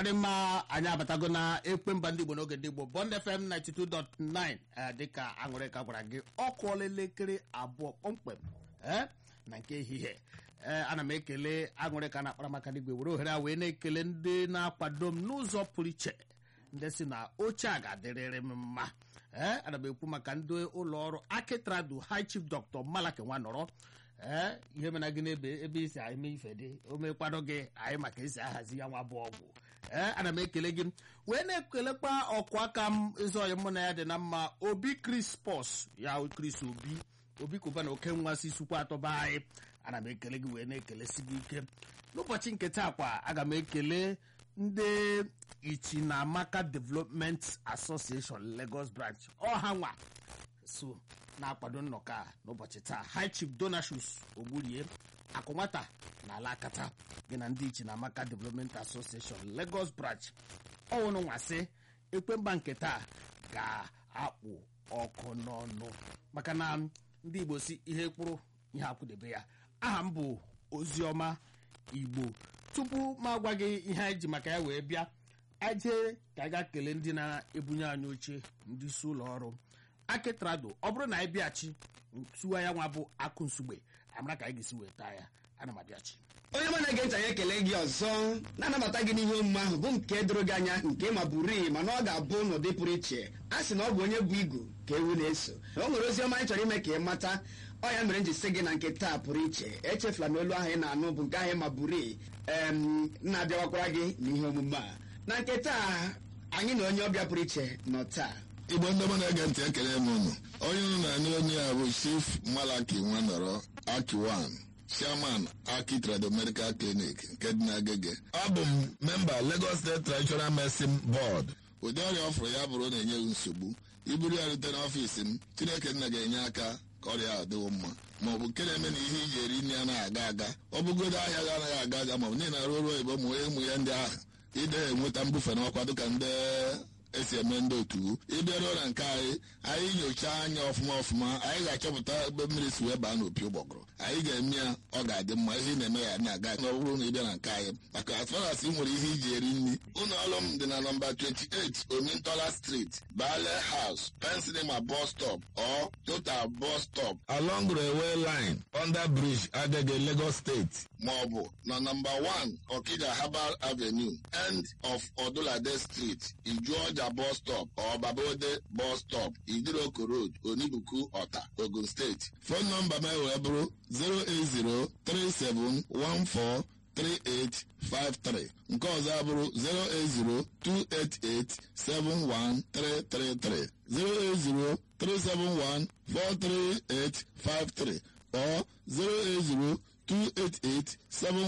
Ọ dị mma, anyị abatago na ekpe mba ndị Igbo n'oge ndị Igbo Bond FM 92.9. Dịka Aṅụrịka gwara gị, ọ kụọla elekere 2 kpọmkwem na nke ehihie. Ana m ekele Aṅụrịka na akparamaka n'igwe, were ohere a wee na-ekele ndị na-akwado m n'ụzọ pụrụ iche, ndị si na oche a ga-adịrịrị m mma. Ana m ekwu maka ndị ụlọ ọrụ Akitradu, High Chief Dr. Malaki Nwanọrọ. Ihe mere gị n'ebe ebe isi anyị mee ife dị o mekwado gị anyị maka esi ahazi ya nwa bụ ọgwụ. Ana m ekele gị wee na-ekelekwa ọkụ aka m, ezi ọyị mụ na ya dị na mma, Obi Krispọs ya, Chris Obi, Obi Kuba na oke nwa si sukwa atọba anyị. Ana m ekele gị wee na-ekelesi gị ike n'ụbọchị nke taa. Kwa aga m ekele ndị Ichinamaka Development Association Lagos Branch, ọha nwa so na-akwado nnọkọ a n'ụbọchị taa. High Chief Donashus Ogburie akụ nwata na alakata gị na ndị Ichinamaka Development Association Lagos Branch, ọwụnụ nwasị ekwemba nke taa ga-akpụ ọkụ n'ọnụ, maka na ndị Igbo si ihe kwụrụ ihe akwụdebe ya. Aha m bụ Oziọma Igbo. Tupu m agwa gị ihe anyị ji maka ya wee bịa, anyị jee ka anyị gaa kelee ndị na-ebunye anyị oche, ndị isi ụlọ ọrụ Akitrado. Ọ bụrụ na anyị bịachi ntụwa ya nwa bụ akụ nsugbe, amara ka anyị ga-esi wee taa ya. Ana m abịachi. Onye mụ na-ege ntị, anyị ekele gị ọzọ, na-anabata gị n'ihe omume ahụ bụ nke doro gị anya, nke ma bụrii mana ọ ga-abụ n'ụdị pụrụ iche. A sị na ọ bụ onye bụ igu ka ewu na-eso. O nwere ozi ọma anyị chọrọ ime ka ị mata. Ọ ya mere m ji sị gị na nke taa pụrụ iche. Echefula na olu ahụ ị na-anụ bụ nke ahụ ma bụrii em na-abịawakwara gị n'ihe omume a. Na nke taa, anyị na onye ọbịa pụrụ iche nọ taa. Igbo ndị ọma na-ege ntị, ekele m unu. Onye unu na-anụ onye a bụ Chief Malaki Nwanọrọ Akiwan, Chairman Aki Trado Medical Clinic nke dị n'Agege. Abụ m memba Lagos State Traditional Medicine Board. Ụdị ọrịa ọfụrụ ya bụrụ na-enye gị nsogbu, iburu ya rute n'ọfiisi m, Chineke nna ga-enye aka ka ọrịa ahụ dịwo mma, ma ọ bụ nke na-eme na ihe iji eri nri anaghị aga aga, ọ bụgodo ahịa gị anaghị aga aga, ma ọ bụ niile arụ ọrụ oyibo, ma onye ụmụ ya ndị ahụ ide enweta mbufe n'ọkwa dịka ndị esi eme ndị otu. Ịbịaruo na nke anyị, anyị nyochaa anya ọfụma ọfụma, anyị ga-achọpụta ebe mmiri si wee baa n'opi ụgbọgụrụ. Anyị ga-eme ya ọ ga-adị mma, ihe ị na-eme ya na-aga. Na ọ bụrụ na ị bịa na nke anyị, maka as far as ị nwere ihe iji eri nri, ụlọ ọrụ m dị na nọmba 28 Omintola Street, Bale House, Pensinema bus stop or Total bus stop, along railway line, under bridge, Agege, Lagos State, maọbụ na nọmba 1 Okija Herbal Avenue, end of Odulade Street, Ijuọja bus stop or Babode bus stop, Idiroko Road, Onibuku, Ọta, Ogun State. Phone nọmba m wee bụrụ 08037143853, nke ọzọ abụrụ 08028871333, 08037143853 or 0802887.